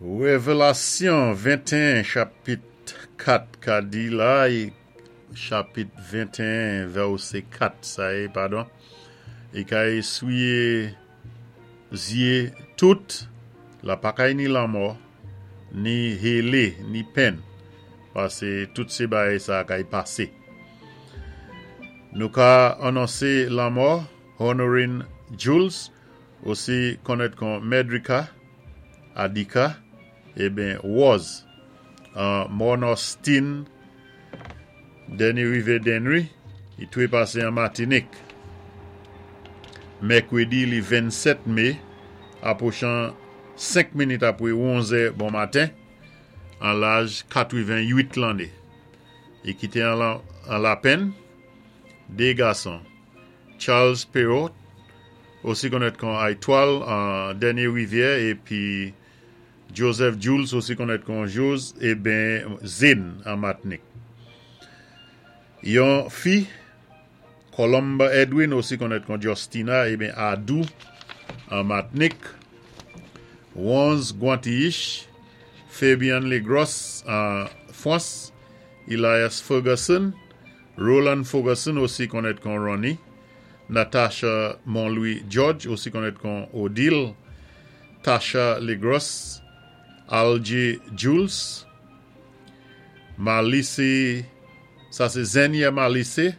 Révélasyon 21 chapit 4 ka di la, chapit 21 vèsé 4 sa yé, padon, i ka éswiyé zyé tout, la pa kay ni lanmò, ni hélé, ni penn, pasé tout sé bagay sa kay pasé. Nou ka anonsé lanmò Honorine Jules, osi konnèt kon Medrika, Adika, eben Woz, an Morne Austin, Dènyé Rivyè Dennery, i twé pasé an Matinik. Mèkwédi li 27 mé, apwochan 5 minit apwé 11 è bon maten, an laj 88 lanné. I kité an lapenn, dé gason, Charles Perrault, osi konnèt kon Aytwal an Dènyé Rivyè épi Joseph Jules osi konnèt kon Jose eben Zin an Matnik. Yon fi, Columba Edwin osi konnèt kon Justina eben Adou an Matnik, Wonz Guantiich, Fabian Legros an Fwans, Elias Ferguson, Roland Ferguson osi konnèt kon Ronnie, Natasha Montlouis George osi konnèt kon Odile, Tasha Legros, Algie Jules, Malice, sa sé Zenia Malice,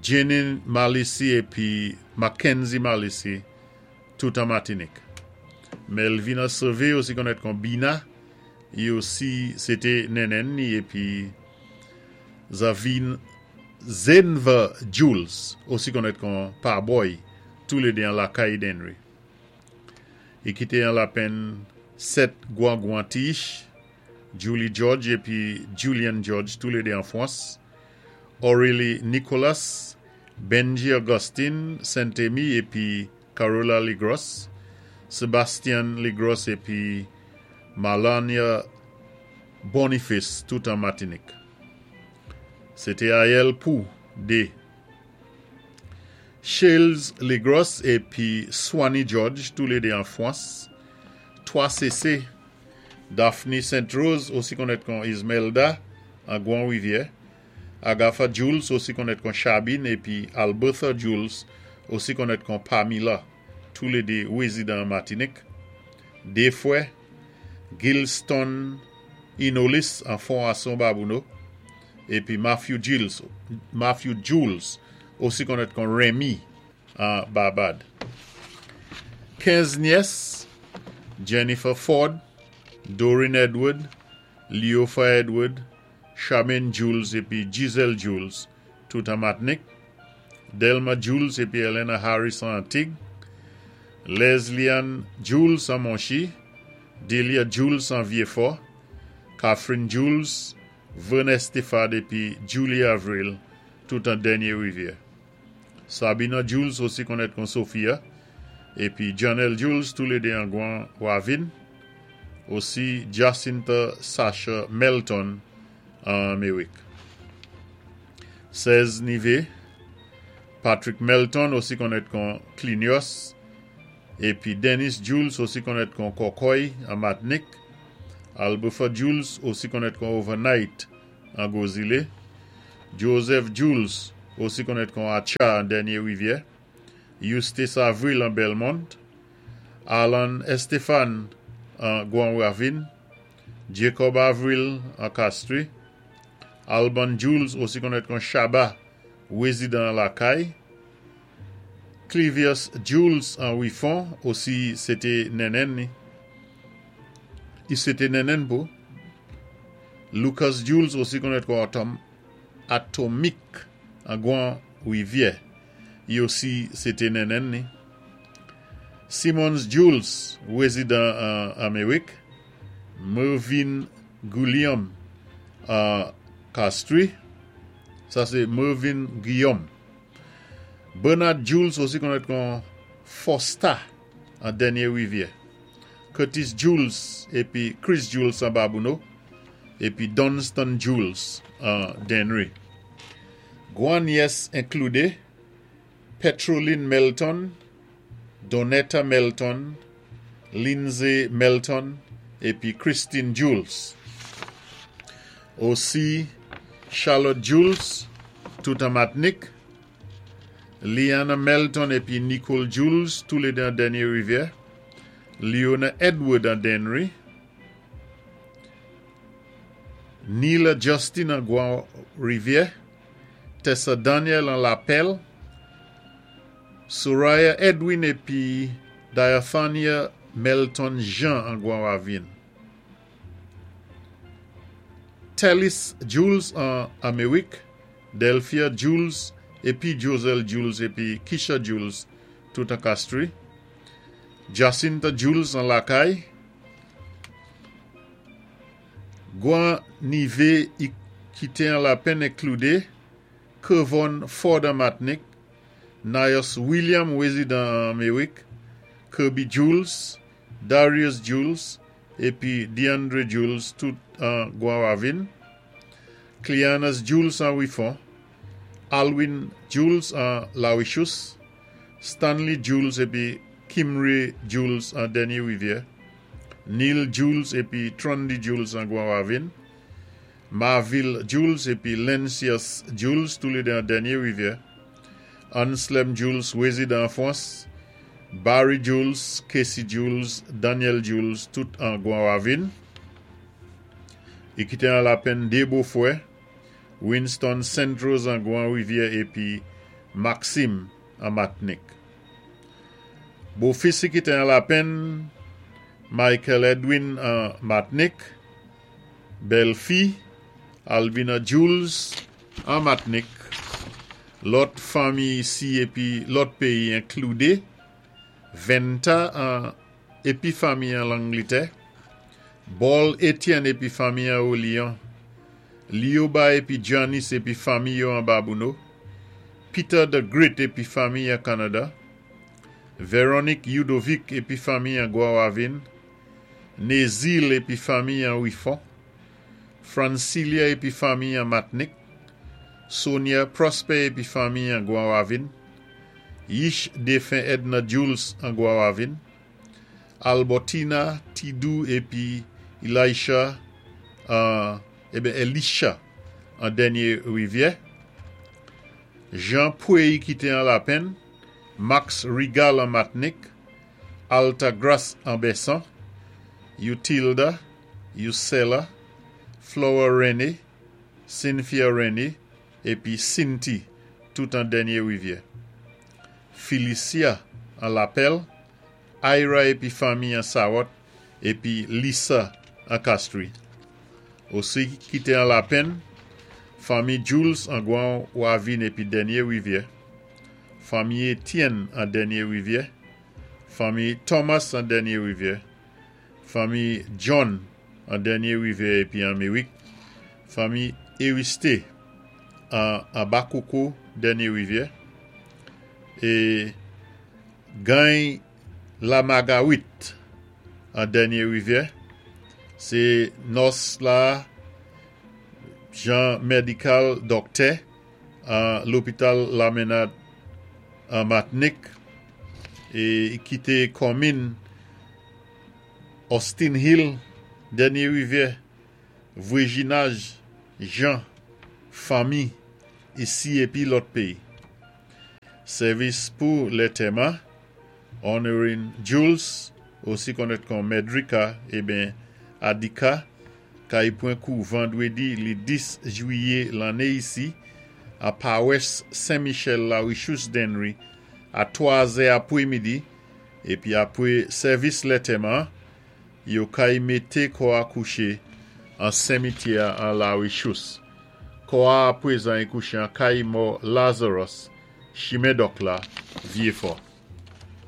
Jenin Malice épi Mackenzie Malice, tout an Matinik. Melvina Sauvé osi konnèt kon Bina, i osi sé té nènèn ni épi Zavin Zenva Jules, osi konnèt kon Parboy, toulédé an Lakay Dennery. I kité an lapenn 7 Gwan-Gwantiche, Julie George épi Julian George, toulédé an Fwans, Aurélie Nicolas, Benji Augustine Saint-Amy épi Carola Legros, Sebastian Legros épi Malania Boniface, tout an Matinik. Sé té Ayèl pou dé Shales Legros épi Swanny George, toulédé an Fwans, 3 CC, Daphne Saint Rose, osi konnèt kon Ismelda, an Gwan Rivyè, Agatha Jules, osi konnèt kon Chabine, épi Albertha Jules, osi konnèt kon Pamela, toulédé wézidan Matinik, dé fwè, Gilston Inolis an Fon Babouno, épi Matthew Jules, Matthew Jules, osi konnèt kon Remy an Barbad. 15 nyès, Jennifer Ford, Doreen Edward, Leofa Edward, Charmaine Jules épi Giselle Jules, tout an Matnik, Delma Jules épi Elena Harris an Antig, Leslie-Ann Jules an Monchi, Delia Jules an Vieux-Fort, Catherine Jules, Vernet Stéphane épi Julie Avril, tout an Dènyé Rivyè. Sabina Jules, osi konnèt kon Sophia, épi Janelle Jules, toulédé an Gwan Wavin, osi Jacinta Sasha Melton an Amérik. 16 nivé, Patrick Melton, osi konnèt kon Clinios, épi Dennis Jules, osi konnèt kon Kokoy an Matnik, Albertha Jules, osi konnèt kon Overnight an Gozilé, Joseph Jules, osi konnèt kon Acha an Dènyé Rivyè, Eustace Avril an Belmont, Alan Estefan an Gwan Ravin, Jacob Avril an Castries, Alban Jules, osi konnèt kon Chaba, wézidan Lakay, Clivius Jules an Wifon, osi sé té nènèn ni. I sé té nènèn pou. Lucas Jules, osi konnèt kon Atom, Atomic an Gwan Rivyè. I osi sé té nènèn ni. Simons Jules, wézidan an Amérik. Mervyn Guillaume an Castries. Sa sé Mervyn Guillaume. Bernard Jules, osi konnèt kon Fosta an Dènyé Rivyè. Curtis Jules épi Chris Jules an Babouno. Épi Dunstan Jules an Dennery. Gwan nyès enkludé Petroline Melton, Donetta Melton, Lindsay Melton, épi Christine Jules. Osi Charlotte Jules, tout an Matnik, Liana Melton épi Nicole Jules, toulédé an Dènyé Rivyè, Leona Edward an Dennery, Neila Justin an Gwan Rivyè, Tessa Daniel an Lapèl, Soraya Edwin épi Diathania Melton Jean an Gwan Ravin. Tellis Jules an Améwik, Delphia Jules épi Josel Jules épi Kisha Jules, tout an Castries, Jacinta Jules an Lakay, Gwan Nivé ki té an Lapenn inkloudé Kevon Ford an Matnik, Nios William wézidan an Améwik, Kirby Jules, Darius Jules épi DeAndre Jules, tout an Gwan Ravin, Cleanas Jules an Wifon, Alwin Jules an Lawishous, Stanley Jules épi Kimray Jules an Dènyé Rivyè, Neil Jules épi Trondy Jules an Gwan Ravin, Marville Jules épi Lencius Jules, toulédé an Dènyé Rivyè, Anslem Jules, wézidan an Fwans, Barry Jules, Casey Jules, Daniel Jules, tout an Gwan Ravin. I kité an Lapenn dé bofwè, Winston Saint-Rose an Gwan Rivyè épi Maxime an Matnik. Bofis i kité an Lapenn, Michael Edwin an Matnik, bèlfi, Albina Jules an Matnik, lòt fanmi isi épi lòt péyi inkloudé, Venta an épi fanmi an Langlitè, Bol Etienne épi fanmi an Olion, Lioba épi Janice épi fanmi yo an Babouno, Peter the Great épi fanmi an Kanada, Véronique Yudovic épi fanmi an Gwan Ravin, Nézil épi fanmi an Wifon, Francilia épi fanmi an Matnik, Sonia Prosper épi fanmi an Gwan Ravin, Yish défen Edna Jules an Gwan Ravin, Albertina Tidou épi Elisha an ébyen Elisha an Dènyé Rivyè, Jean Pouey ki té an Lapenn, Max Rigal an Matnik, Alta Grace an Bessan, Utilda, Usela, Flora René, Cynthia René épi Cinti, tout an Dènyé Rivyè. Felicia an Lapèl, Ira épi fanmi an Sarot, épi Lisa an Castries. Osi ki té an Lapenn, fanmi Jules an Gwan Ravin épi Dènyé Rivyè, fanmi Etienne an Dènyé Rivyè, fanmi Thomas an Dènyé Rivyè, fanmi John an Dènyé Rivyè épi an Méwik, fanmi Eristé an Abakoko Dènyé Rivyè, é Gany Lamagawit an Dènyé Rivyè, sé nòs la Jean Medical Dòktè an lopital Lamenad an Matnik é kité kòmin Austin Hill, Dènyé Rivyè, Vwéjinaj, Jean, fanmi, isi épi lòt péyi. Sèvis pou lantèman, Honorine Jules, osi konnèt kon Medrika ébyen Adika, kay pwan kou vandwédi li 10 jwiyé lanné isi, a Pawès Saint-Michel La Richous Dennery, a 3 zè apwémidi, épi apwé sèvis lantèman, yo kay mété kò a kouché an senmityè an La Richous. Kò a apwézan i kouché an kay mò Lazarus, Chimen Dòk la, Vyéfò.